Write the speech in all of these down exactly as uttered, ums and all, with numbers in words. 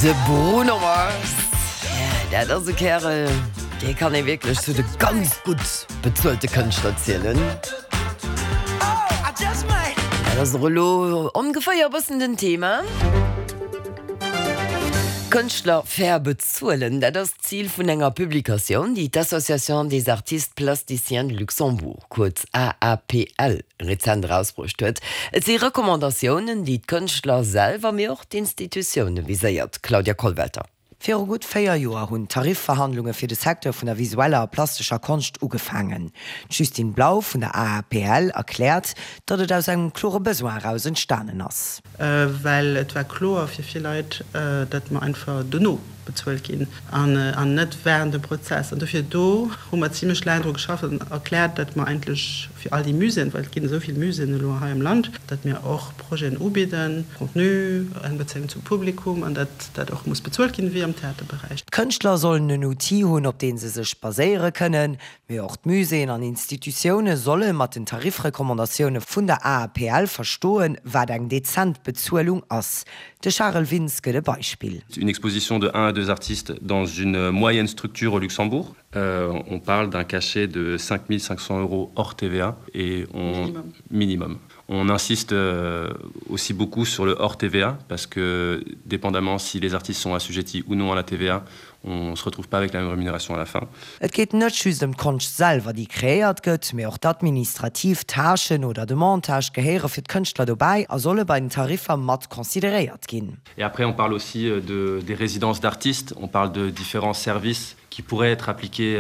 De Bruno Mars, ja, dat ass e Kärel, dee kann ee wierklech zu de ganz gutt bezuelte Kënschtler zielen. Dat ass och elo ongeféier e bëssen den Thema. Kënschtler fair bezuelen, dat ass d'Zil vun enger Publikatioun, déi d'Association des artistes plasticiens du Luxembourg, kuerz AAPL, rezent erausbruecht huet. Et si Recommandatiounen, déi d'Kënschtler selwer, mee och d'Institutioune viséiert. Claudia Kollwelter. Viru gutt véier Joer hunn d'Tarifverhandlunge fir de Secteur vun der visueller a plastescher Konscht ugefaangen. D'Justine Blau vun der AAPL erkläert, datt et aus engem klore Besoin eraus entstanen ass. Well et war kloer fir vill Leit, datt mer einfach dono bezuelt ginn an net wärend dem Prozess. An dofir do hu mer zimlech laang dru geschafft an erkläert, datt mer eigentlech fir all déi Muséeën, well et ginn esou vill Muséeën elo hei am Land, datt mir och Projeten ubidden, Contenu, eng Bezéiung zum Publikum an datt dat och muss bezuelt ginn, wéi am Theaterberäich. D'Kënschtler sollen en Outil hunn, op dee se sech baséiere kënnen, mee och d'Muséeën an Institutioune solle mat den Tarifrecommandatioune vun der AAPL verstoen, wat eng dezent Bezuelung ass. De Charel Wintz gëtt e Beispill. Une exposition de un à deux artistes dans une moyenne structure au Luxembourg, on parle d'un cachet de cinq mille cinq cents euros hors TVA et on Minimum. minimum. On insiste aussi beaucoup sur le hors TVA parce que dépendamment si les artistes sont assujettis ou non à la TVA, on se retrouve pas avec la même rémunération à la fin. Et geet net just ëm d'Konscht selwer, déi kreéiert gëtt, mee och d'administrativ Tâchen oder de Montage gehéiere fir d'Kënschtler dobäi a solle bei den Tariffer mat consideréiert ginn. Et après on parle aussi de des résidences d'artistes, on parle de différents services qui pourraient être appliqués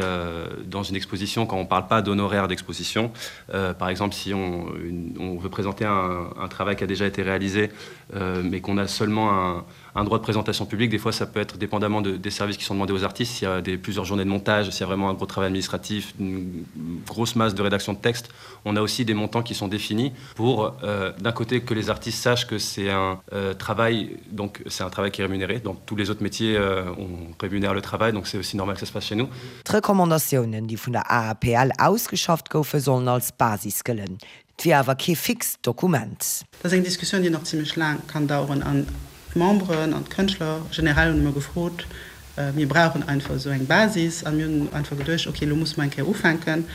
dans une exposition quand on parle pas d'honoraires d'exposition. Par exemple, si on une on veut présenter un un travail qui a déjà été réalisé, mais qu'on a seulement un un droit de présentation publique, des fois ça peut être dépendamment de des services qui sont demandés aux artistes, s'il y a des plusieurs journées de montage, s'il y a vraiment un gros travail administratif, une grosse masse de rédaction de texte, on a aussi des montants qui sont définis pour euh, d'un côté que les artistes sachent que c'est un euh, travail donc c'est un travail qui est rémunéré dans tous les autres métiers euh, on rémunère le travail donc c'est aussi normal que ça se passe chez nous. D'Recommandatiounen, déi vun der AAPL ausgeschafft goufen, sollen als Basis gëllen. Et wier awer kee fixt Dokument. Dat ass eng Diskussioun, déi nach zimlech laang kann daueren. An d'Memberen an d'Kënschtler generell hunn ëmmer gefrot, Mir brauchen einfach esou eng Basis. A mir hunn einfach geduecht, okay, elo musse mer eng Kéier ufänken.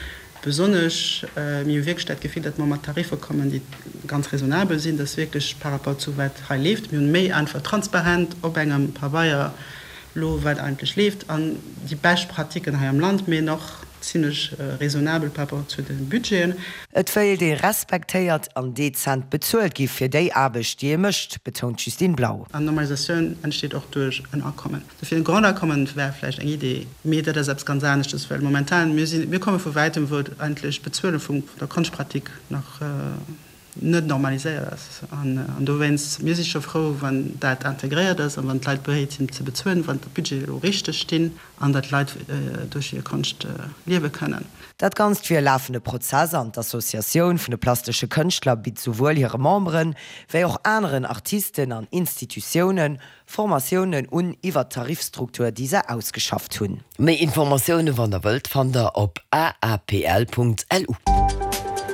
Besonnesch, mir hu wierklech dat Gefill, datt mer mat Tariffer kommen, déi ganz raisonnabel sinn, datt wierklech par rapport zu wat hei leeft, mir hunn méi einfach transparent op engem Pabeier elo wat eigentlech leeft an déi bescht Pratiquen hei am Land, mee och zimlech raisonnabel par rapport zu de Budgeten. Et wéilt ee respektéiert an dezent bezuelt gi fir déi Aarbecht, déi ee mécht, betount d'Justine Blau. An Normalisatioun entsteet och duerch en Akommen. Dofir e Grondeinkommen wär vläicht eng Idee, mee dat ass eppes ganz aneschtes, well momentan, mir sinn, mir komme vu wäitem, wou eigentlech d'Bezuele vum der Konschtpratik nach net normaliséiert ass. An dowéinst, mir si scho frou, wann dat integréiert ass a wann d'Leit bereet sinn ze bezuelen, wann d'Budgete elo richteg stinn an datt d'Leit duerch hir Konscht liewe kënnen. Dat Ganzt wier e lafende Prozess an d'Associatioun vun de plastesche Kënschtler bitt souwuel hire Memberen, wéi och aneren Artisten an Institutioune Formatiounen un iwwer d'Tarifstruktur, déi se ausgeschafft hunn. Méi Informatioune wann der wëllt fannt der op aapl.lu.